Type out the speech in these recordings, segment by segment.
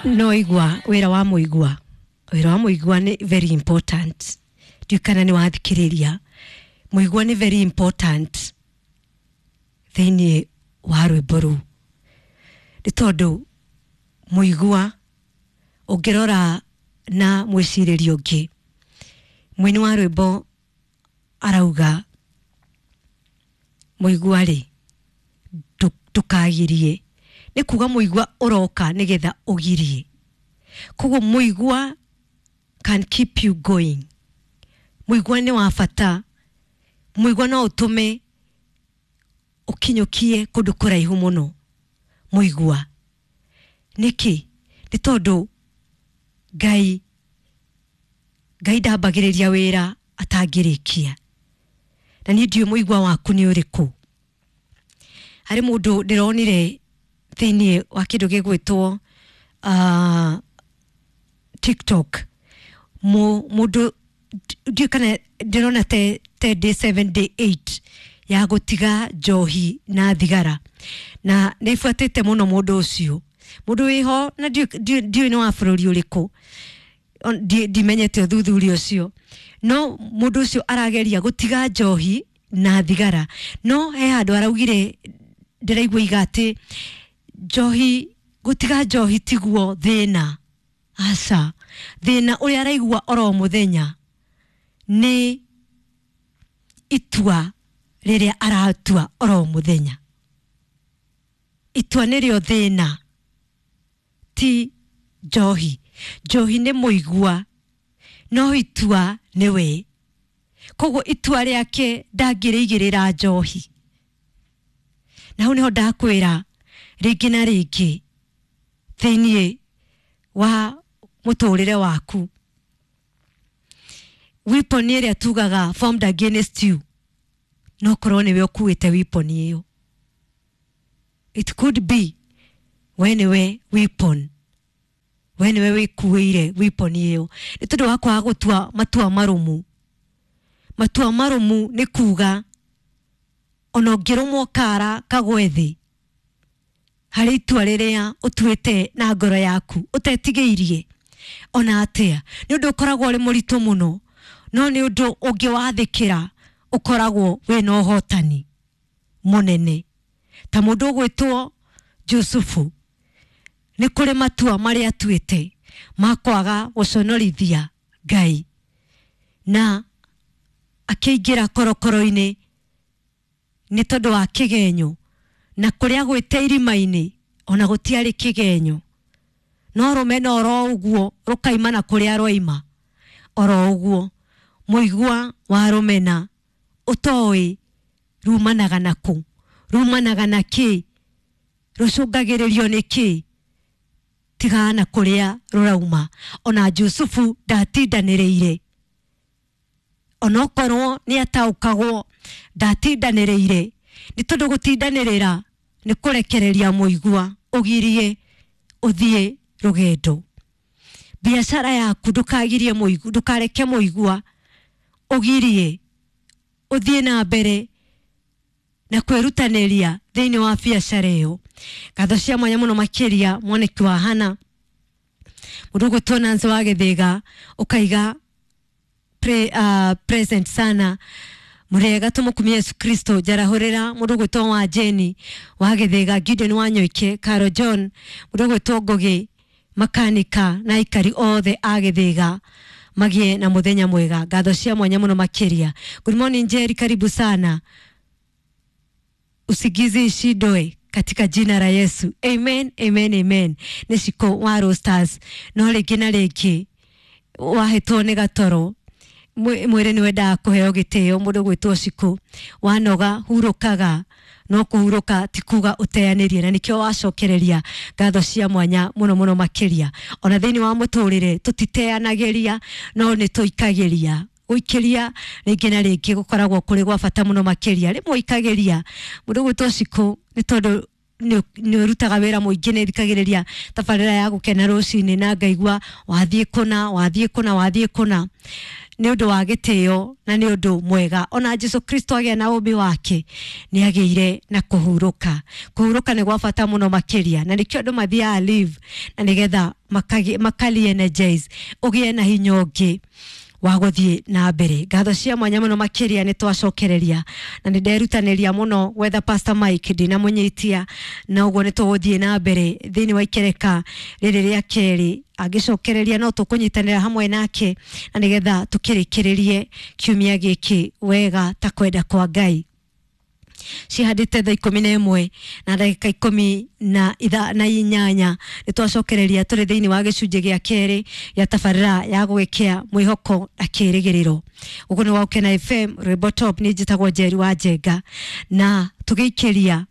No igua wĩra wa mũigua, wĩra wa mũigua nĩ very important. Ndiũĩ kana nĩ wathikĩrĩria, mũigua nĩ very important thĩinĩ wa rwĩmbo rũu, nĩ tondũ mũigua ũngĩrora na mwĩcirĩrio ũngĩ, mũini wa rwĩmbo arauga mũigua rĩ, ndũkagirie, nĩ kuga mũigua ũroka nĩgetha ũgirie. Koguo mũigua can keep you going. Mũigua nĩ wa bata, mũigua no ũtũme ũkinyũkie kũndũ kũraihu mũno. Mũigua nĩkĩ? Nĩ tondũ Ngai ndambagĩrĩria wĩra atangĩrĩkia, na niĩ ndiũĩ mũigua waku nĩ ũrĩkũ. Harĩ mũndũ ndĩronire thĩinĩ wa kĩndũ gĩgwĩtwo TikTok, mũndũ ndiũĩ kana ndĩrona te day 7 day 8 ya gũtiga njohi na thigara, na nĩ buatĩte mũno mũndũ ũcio, mũndũ wĩho na ndiũĩ nĩ wa bũrũri ũrĩkũ, ndimenyete ũthuthuria ũcio, no mũndũ ũcio arageria gũtiga njohi na thigara, no he handũ araugire ndĩraigua iga atĩ njohi, gũtiga njohi tiguo thĩna, aca, thĩna ũrĩa araigua oro mũthenya nĩ itua rĩrĩa aratua oro mũthenya. Itua nĩrĩo thĩna, ti njohi. Njohi nĩ mũigua, no itua nĩwe. Koguo itua rĩake ndangĩrĩigĩrĩra njohi. Na hau nĩho ndakwĩra rĩngĩ na rĩngĩ thĩiniĩ wa mũtũrĩre waku, weapon ĩrĩa tugaga formed against you, no korwo nĩwe ũkuĩte weapon ĩyo. It could be we nĩwe weapon, we nĩwe wĩkuĩire weapon ĩyo, nĩ tondũ wa kwaga gũtua matua marũmu. Matua marũmu nĩ kuga ona ũngĩrũmwo kara kagwe thĩ, harĩ itua rĩrĩa ũtuĩte na ngoro yaku ũtetigĩirie ona atĩa, nĩ ũndũ ũkoragwo ũrĩ mũritũ mũno, no nĩ ũndũ ũngĩwathĩkĩra ũkoragwo wĩna ũhotani mũnene. Ta mũndũ ũgwĩtwo Jusufu, nĩ kũrĩ matua marĩa atuĩte ma kwaga gũconorithia Ngai, na akĩingĩra korokoro-inĩ nĩ tondũ wa kĩgenyo, na kũrĩa gwĩte irima-inĩ ona gũtiarĩ kĩgenyo, no rũmena oro ũguo rũkaima na kũrĩa rwaima oro ũguo. Mũigua wa rũmena ũtoĩ rumanaga na kũ, rumanaga na kĩ, rũcũngagĩrĩrio nĩ kĩ, tigana na kũrĩa rũrauma. Ona Jusufu ndatindanĩrĩire, onokorwo nĩ ataũkagwo, ndatindanĩrĩire, nĩ tondũ gũtindanĩrĩra nĩ kũrekereria mũigua ũgirie ũthiĩ rũgendo. Biacara yaku ndũkagirie mũigua, ndũkareke mũigua ũgirie ũthiĩ na mbere na kwĩrutanĩria thĩinĩ wa biacara ĩyo. Ngatho cia mwanya mũno makĩria mwaniki wa Hana, mũndũ ũgwĩtwo Nancy wa Gĩthĩga, ũkaiga present sana, mũrĩega tũmũkumie Yesu Kristo. Njarahũrĩra mũndũ ũgwĩtwo wa Jeni wa Gĩthĩga, Gideon wa Nyoike, Caro John, mũndũ ũgwĩtwo Ngũgĩ makanika na aikari othe a Gĩthĩga magĩe na mũthenya mwega. Ngatho cia mwanya mũno makĩria. Good morning Jerry, karibu sana. Usigizi ishindwe katika jina la Yesu. Amen, amen, amen. Nĩ Ciko wa Roasters. No rĩngĩ na rĩngĩ wahĩtwo nĩ gatoro, mwĩrĩ nĩ wendaga kũheo gĩtĩo. Mũndũ gwĩtwo Ciko wanoga hurũkaga, no kũhurũka ti kuga ũteanĩrie, na nĩkĩo wacokereria ngatho cia mwanya mũno mũno makĩria. Ona thĩinĩ wa mũtũrĩre tũtiteanagĩria, no nĩ tũikagĩria. Gũikĩria rĩngĩ na rĩngĩ gũkoragwo kũrĩ gwa bata mũno makĩria. Rĩmwe ũikagĩria mũndũ gwĩtwo Ciko nĩ tondũ nĩ ũrutaga wĩra mũingĩ, nĩ thikagĩrĩria tabarĩra ya gũkena rũcinĩ na ngaigua wathiĩ kũna, wathiĩ kũna, wathiĩ kũna. Nĩ ũndũ wa gĩtĩo na nĩ ũndũ mwega. Ona Jesu Kristo agĩa na ũmbi wake nĩ agĩire na kũhurũka. Kũhurũka nĩ gwa bata mũno makĩria, na nĩkĩo andũ mathiaga leave na nĩgetha makali energize, ũgĩe na hinya ũngĩ wa gũthiĩ na mbere. Ngatho cia mwanya mũno makĩria nĩ twacokereria na nĩ nderutanĩria mũno gwetha Pastor Mike, ndinamũnyitia, na ũguo nĩ tũgũthiĩ na mbere thĩinĩ wa ikereka rĩrĩ rĩa kerĩ. Angĩcokereria no tũkũnyitanĩra hamwe nake na nĩgetha tũkĩrĩkĩrĩrie kiumia gĩkĩ wega ta kwenda kwa Ngai. Cihandĩte thaa 11 na ndagĩka 18. Nĩ twacokereria tũrĩ thĩinĩ wa gĩcunjĩ gĩa kerĩ gĩa tabarĩra ya gwĩkĩa mwĩhoko na kĩrĩgĩrĩro. Ũguo nĩ wa Ũkena FM Rwĩmbo Top. Nĩ njĩtagwo Njeri wa Njenga, na tũgĩikĩria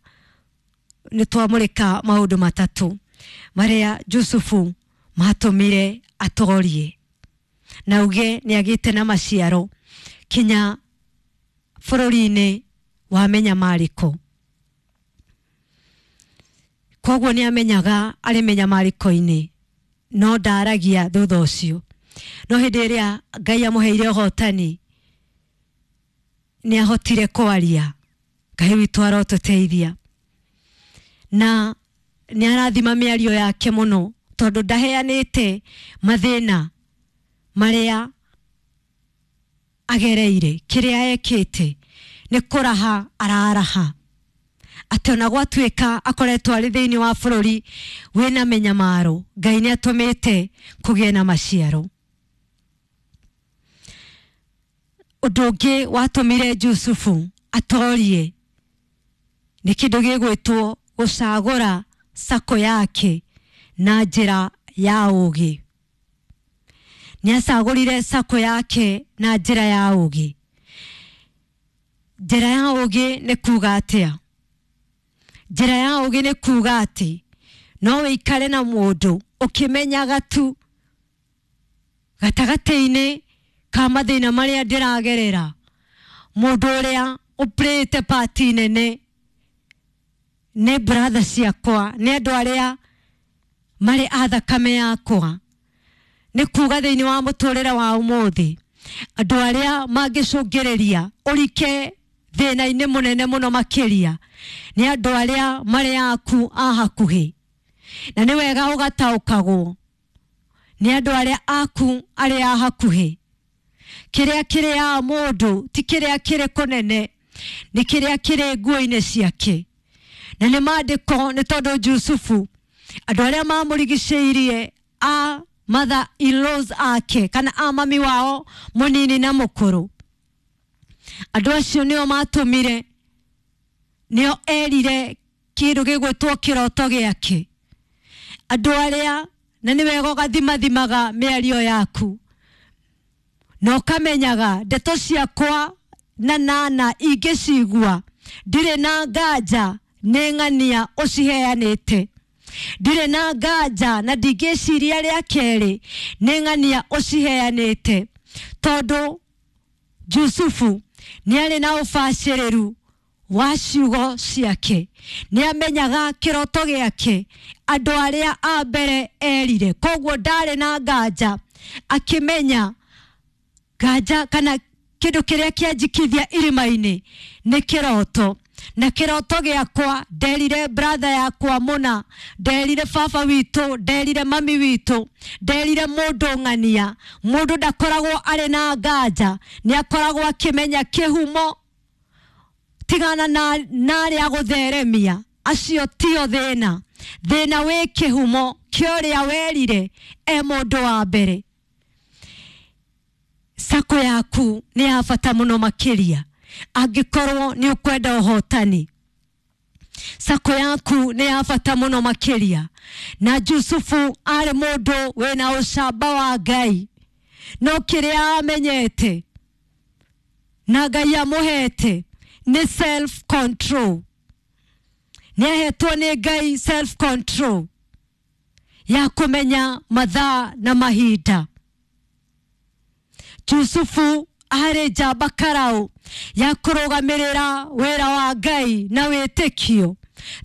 nĩ twamũrĩka maũndũ matatũ marĩa Jusufu matũmire atorie na uge nĩ agĩte na maciaro kinya bũrũri-inĩ wa menyamarĩko. Koguo nĩ amenyaga arĩ menyamarĩko-inĩ, no ndaragia thutha ũcio. No hĩndĩ ĩrĩa Ngai amũheire ũhotani nĩ ahotire kwaria. Ngai witũ arotũteithia, na nĩ arathima mĩario yake mũno, tondũ ndaheanĩte mathĩna marĩa agereire. Kĩrĩa ekĩte nĩ kũraha araraha atĩ ona gwatuĩka akoretwo arĩ thĩinĩ wa bũrũri wĩna mĩnyamaro, Ngai nĩ atũmĩte kũgĩe na maciaro. Ũndũ ũngĩ watũmire Jusufu atorie nĩ kĩndũ gĩgwĩtwo gũcagũra sako yake na njĩra ya ũũgĩ. Nĩ acagũrire sako yake na njĩra ya ũũgĩ. Njĩra ya ũũgĩ nĩ kuga atĩa? Njĩra ya ũũgĩ nĩ kuga atĩ no wĩikare na mũndũ ũkĩmenyaga tu gatagatĩ-inĩ ka mathĩna marĩa ndĩragerera, mũndũ ũrĩa ũplayĩte part nene nĩ brother ciakwa, nĩ andũ arĩa marĩ a thakame yakwa. Nĩ kuga thĩinĩ wa mũtũrĩre wa ũmũthĩ andũ arĩa mangĩcũngĩrĩria ũrike thĩna-inĩ mũnene mũno makĩria nĩ andũ arĩa marĩ aku a hakuhĩ, na nĩ wega ũgataũkagwo nĩ andũ arĩa aku arĩa a hakuhĩ. Kĩrĩa kĩrĩaga mũndũ ti kĩrĩa kĩrĩ kũnene, nĩ kĩrĩa kĩrĩ nguo-inĩ ciake. Na nĩ maandĩko, nĩ tondũ Jusufu andũ arĩa mamũrigicĩirie a mother in-laws ake kana a mami wao mũnini na mũkũrũ, andũ acio nĩo matũmire, nĩo erire kĩndũ gĩgwĩtwo kĩroto gĩake. Andũ arĩa, na nĩ wega ũgathimathimaga mĩario yaku na ũkamenyaga ndeto ciakwa na nana ingĩcigua ndirĩ na nganja nĩ ng'ania ũciheanĩte, ndirĩ na nganja na ndingĩciria rĩa kerĩ nĩ ng'ania ũciheanĩte, tondũ Jusufu nĩ arĩ na ũbacĩrĩru wa ciugo ciake, nĩ amenyaga kĩroto gĩake andũ arĩa a mbere erire, koguo ndarĩ na nganja, akĩmenya nganja kana kĩndũ kĩrĩa kĩanjikithia irima-inĩ nĩ kĩroto, na kĩroto gĩakwa nderire brother yakwa mũna, nderire baba witũ, nderire mami witũ, nderire mũndũ ng'ania. Mũndũ ndakoragwo arĩ na nganja, nĩ akoragwo akĩmenya kĩhumo. Tigana na arĩa gũtheremia, acio tio thĩna. Thĩna wĩ kĩhumo kĩa ũrĩa werire e mũndũ wa mbere. Sako yaku nĩ ya bata mũno makĩria angĩkorwo nĩ ũkwenda ũhotani. Sako yaku nĩ ya bata mũno makĩria. Na Jusufu arĩ mũndũ wĩna ũcamba wa Ngai, no kĩrĩa amenyete na Ngai amũhete nĩ self control. Nĩ ahetwo nĩ Ngai self control ya kũmenya mathaa na mahinda. Jusufu arĩ njamba karau ya kũrũgamĩrĩra wĩra wa Ngai na wĩtĩkio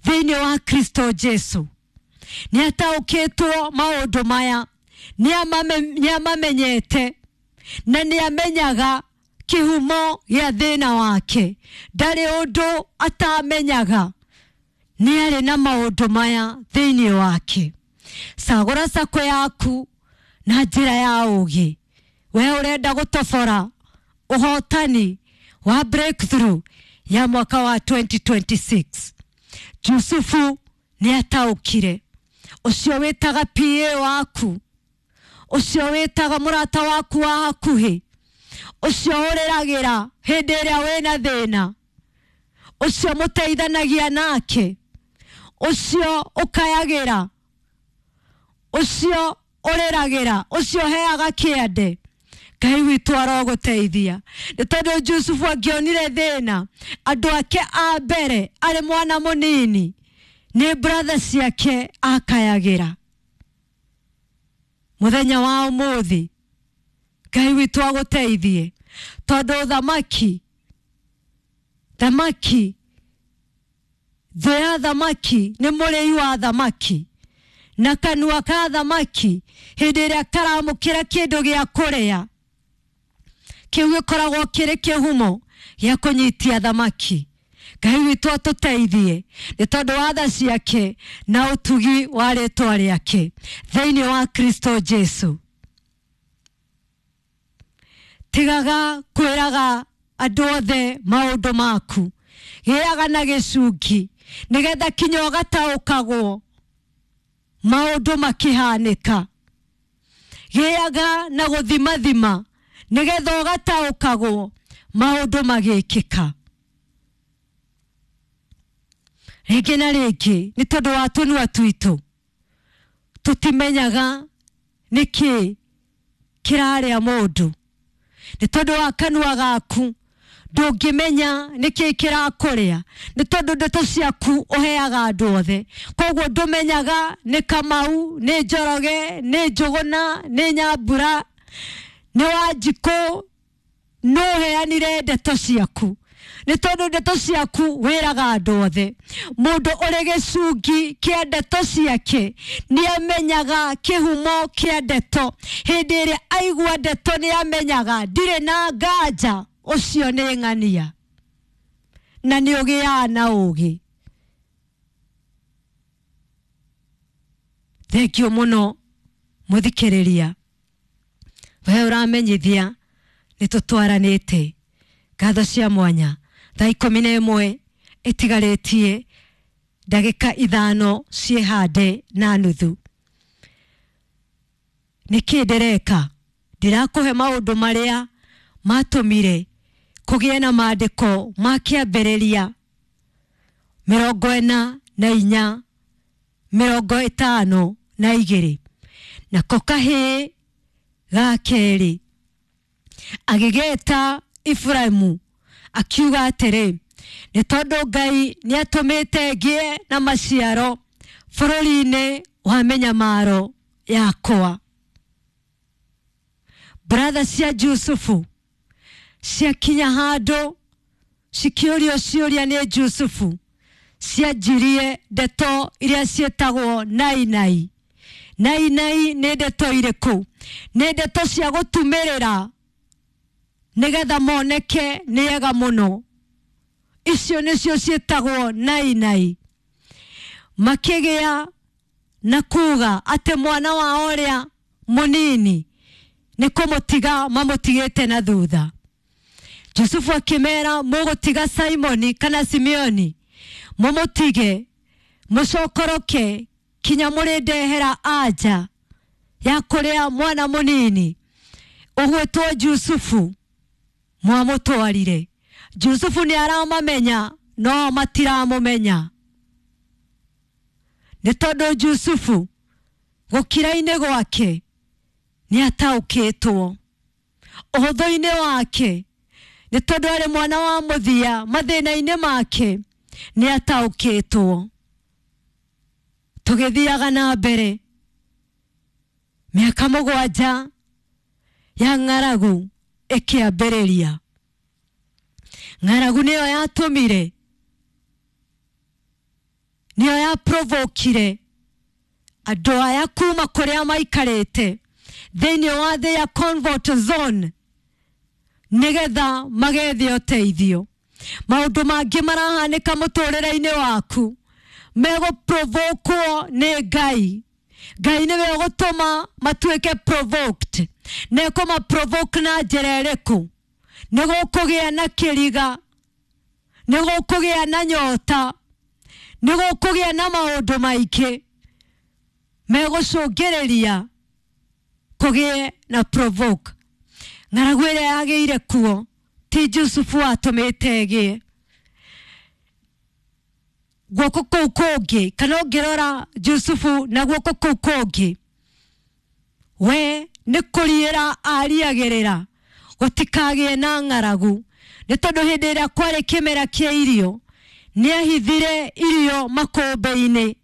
thĩinĩ wa Kristo Jesu. Nĩ ataũkĩtwo maũndũ maya, nĩ amamenyete, Na nĩ amenyaga kĩhumo gĩa thĩna wake, ndarĩ ũndũ atamenyaga, nĩ arĩ na maũndũ maya thĩinĩ wake. Cagũra sako yaku na njĩra ya ũũgĩ. We ũrenda gũtobora ũhotani wa breakthrough ya mwaka wa 2026. Jusufu nĩ ataũkire. Ũcio wĩtaga PA waku, ũcio wĩtaga mũrata waku wa hakuhĩ, ũcio ũrĩragĩra hĩndĩ ĩrĩa wĩna thĩna, ũcio mũteithanagia nake, ũcio ũkayagĩra, ũcio ũrĩragĩra, ũcio ũheaga kĩande, Ngai witũ arogũteithia. Nĩ tondũ Jusufu angĩonire thĩna, andũ ake a mbere arĩ mwana mũnini nĩ brother ciake akayagĩra. Mũthenya wa ũmũthĩ Ngai witũ agũteithie, tondũ thamaki, thamaki, thũ ya thamaki nĩ mũrĩi wa thamaki, na kanua ka thamaki hĩndĩ ĩrĩa karamũkĩra kĩndũ gĩa kũrĩa, kĩu gĩkoragwo kĩrĩ kĩhumo gĩa kũnyitia thamaki. Ngai witũ atũteithie nĩ tondũ wa tha ciake na ũtugi wa rĩtwa rĩake thĩinĩ wa Kristo Jesu. Tigaga kwĩraga andũ othe maũndũ maku, gĩaga na gĩcungi nĩgetha kinya ũgataũkagwo maũndũ makĩhanĩka. Gĩaga na gũthimathima nĩgetha ũgataũkagwo maũndũ magĩkĩka. Rĩngĩ na rĩngĩ nĩ tondũ wa tũnua twitũ tũtimenyaga nĩkĩ kĩrarĩa mũndũ. Nĩ tondũ wa kanua gaku ndũngĩmenya nĩkĩ kĩrakũrĩa, nĩ tondũ ndeto ciaku ũheaga andũ othe. Koguo ndũmenyaga nĩ Kamau, nĩ Njoroge, nĩ Njũgũna, nĩ Nyambura, nĩ Wanjikũ, no ũheanire ndeto ciaku. Nĩ tondũ ndeto ciaku wĩraga andũ othe. Mũndũ ũrĩ gĩcungi kĩa ndeto ciake nĩ amenyaga kĩhumo kĩa ndeto. Hĩndĩ ĩrĩa aigua ndeto nĩ amenyaga ndirĩ na nganja, ũcio nĩ ng'ania, na nĩ ũgĩaga na ũũgĩ. Thengiũ mũno mũthikĩrĩria, we ũramenyithia nĩ tũtwaranĩte. Ngatho cia mwanya. Thaa 11 ĩtigarĩtie ndagĩka 5 ciĩhande na nuthu. Nĩkĩ ndĩreka? Ndĩrakũhe maũndũ marĩa matũmire kũgĩe na maandĩko ma kĩambĩrĩria 44 52. Nako kahĩĩ ga kerĩ agĩgeta Efraimu akiuga atĩrĩ, nĩ tondũ Ngai nĩatũmĩte ngĩe na maciaro bũrũri-inĩ wa mĩnyamaro yakwa. Brother cia Jusufu ciakinya handũ cikĩũrio ciũria nĩ Jusufu, cianjirie ndeto iria ciĩtagwo nainai. Nainai nĩ ndeto irĩkũ? Nĩ ndeto cia gũtumĩrĩra nĩgetha moneke nĩ ega mũno. Icio nĩcio ciĩtagwo nainai. Makĩgĩa na kuga atĩ mwana wao ũrĩa mũnini nĩ kũmũtiga mamũtigĩte na thutha. Jusufu akĩmera, mũgũtiga Simoni kana Simeoni, mũmũtige mũcokoroke kinya mũrĩndehera anja ya kũrĩa mwana mũnini ũgwĩtwo Jusufu mwamũtwarire. Jusufu nĩ aramamenya no matiramũmenya, nĩ tondũ Jusufu gũkira-inĩ gwake nĩ ataũkĩtwo, ũhũthũ-inĩ wake nĩ tondũ arĩ mwana wa mũthia, mathĩna-inĩ make nĩ ataũkĩtwo. Tũgĩthiaga na mbere, mĩaka 7 ya ng'aragu ĩkĩambĩrĩria. Ng'aragu nĩyo yatũmire, nĩyo yaprovokire andũ aya kuma kũrĩa maikarĩte thĩinĩ wa thĩ ya comfort zone, Nĩgetha magethe ũteithio. Maũndũ mangĩ marahanĩka mũtũrĩre-inĩ waku megũprovokwo nĩ Ngai. Ngai nĩwe ũgũtũma matuĩke provoked. Na ekũmaprovoke na njĩra ĩrĩkũ? Nĩ gũkũgĩa na kĩriga, nĩ gũkũgĩa na nyota, nĩ gũkũgĩa na maũndũ maingĩ megũcũngĩrĩria kũgĩe na provoke. Ng'aragu ĩrĩa yagĩire kuo ti Jusufu atũmĩte ĩgĩe. Guoko kũu kũngĩ, kana ũngĩrora Jusufu na guoko kũu kũngĩ, we nĩ kũriĩra ariagĩrĩra gũtikagĩe na ng'aragu, nĩ tondũ hĩndĩ ĩrĩa kwarĩ kĩmera kĩa irio nĩ ahithire irio makũmbĩ-inĩ,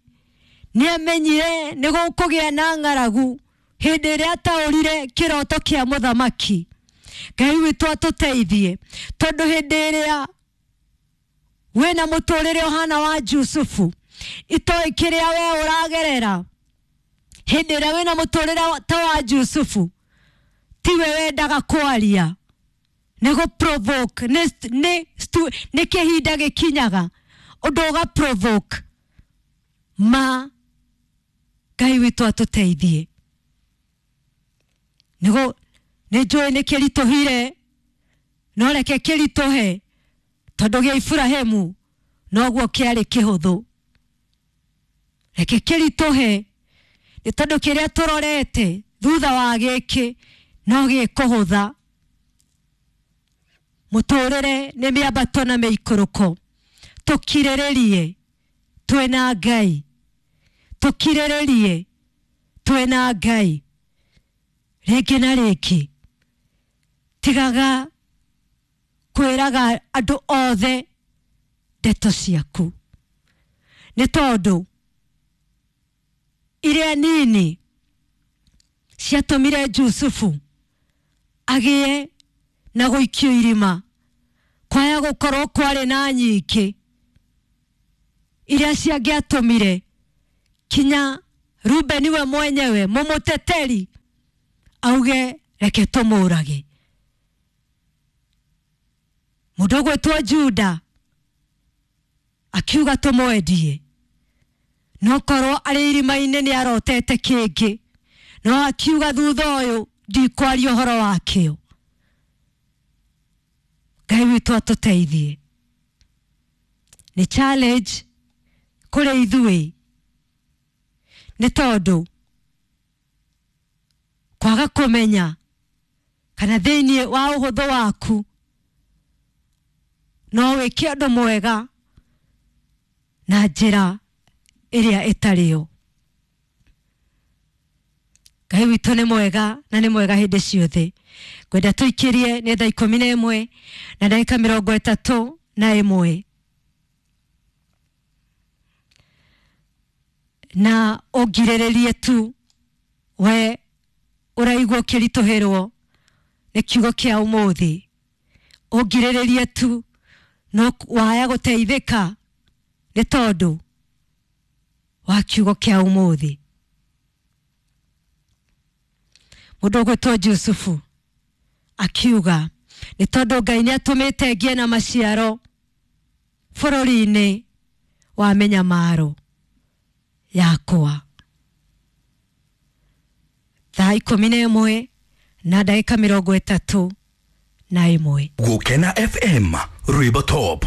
nĩ amenyire nĩ gũkũgĩa na ng'aragu hĩndĩ ĩrĩa ataũrire kĩroto kĩa mũthamaki. Ngai witũ atũteithie, tondũ hĩndĩ ĩrĩa wĩna mũtũrĩre ũhana wa Jusufu, itoĩ kĩrĩa we ũragerera, hĩndĩ ĩrĩa wĩna mũtũrĩre ta wa Jusufu, tiwe wendaga kwaria, nĩ gũ-provoke, nĩ kĩhinda gĩkinyaga ũndũ ũga-provoke ma. Ngai witũ atũteithie. Nĩ njũĩ nĩ kĩritũhire, no reke kĩritũhe, tondũ gĩa Iburahĩmu noguo kĩarĩ kĩhũthũ. Reke kĩritũhe, nĩ tondũ kĩrĩa tũrorete thutha wa gĩkĩ no gĩkũhũtha. Mũtũrĩre nĩ mĩambato na mĩikũrũko. Tũkirĩrĩrie twĩna Ngai, tũkirĩrĩrie twĩna Ngai. Rĩngĩ na rĩngĩ tigaga kwĩraga andũ othe ndeto ciaku, nĩ tondũ iria nini ciatũmire Jusufu agĩe na gũikio irima, kwaya gũkorwo kwarĩ na nyingĩ iria ciangĩatũmire kinya Rubeni we mwenyewe mũmũteteri auge reke tũmũrage. Mũndũ ũgwĩtwo Juda akiuga tũmwendie, no korwo arĩ irima-inĩ nĩ arotete kĩngĩ, no akiuga thutha ũyũ ndikwaria ũhoro wakĩo. Ngai witũ atũteithie. Nĩ challenge kũrĩ ithuĩ, nĩ tondũ kwaga kũmenya kana thĩinĩ wa ũhũthũ waku no wĩke ũndũ mwega na njĩra ĩrĩa ĩtarĩyo. Ngai witũ nĩ mwega na nĩ mwega hĩndĩ ciothe. Ngwenda tũikĩrie nĩ thaa 11 na ndagĩka 31, na ũngirĩrĩrie tu we ũraigua ũkĩritũhĩrwo nĩ kiugo kĩa ũmũthĩ, ũngirĩrĩrie tu no waya gũteithĩka nĩ tondũ wa kiugo kĩa ũmũthĩ. Mũndũ ũgwĩtwo Jusufu akiuga nĩ tondũ Ngai nĩ atũmĩte ngĩe na maciaro bũrũri-inĩ wa mĩnyamaro yakwa. Thaa 11 na ndagĩka 31. Gukena FM, Rwimbo Top.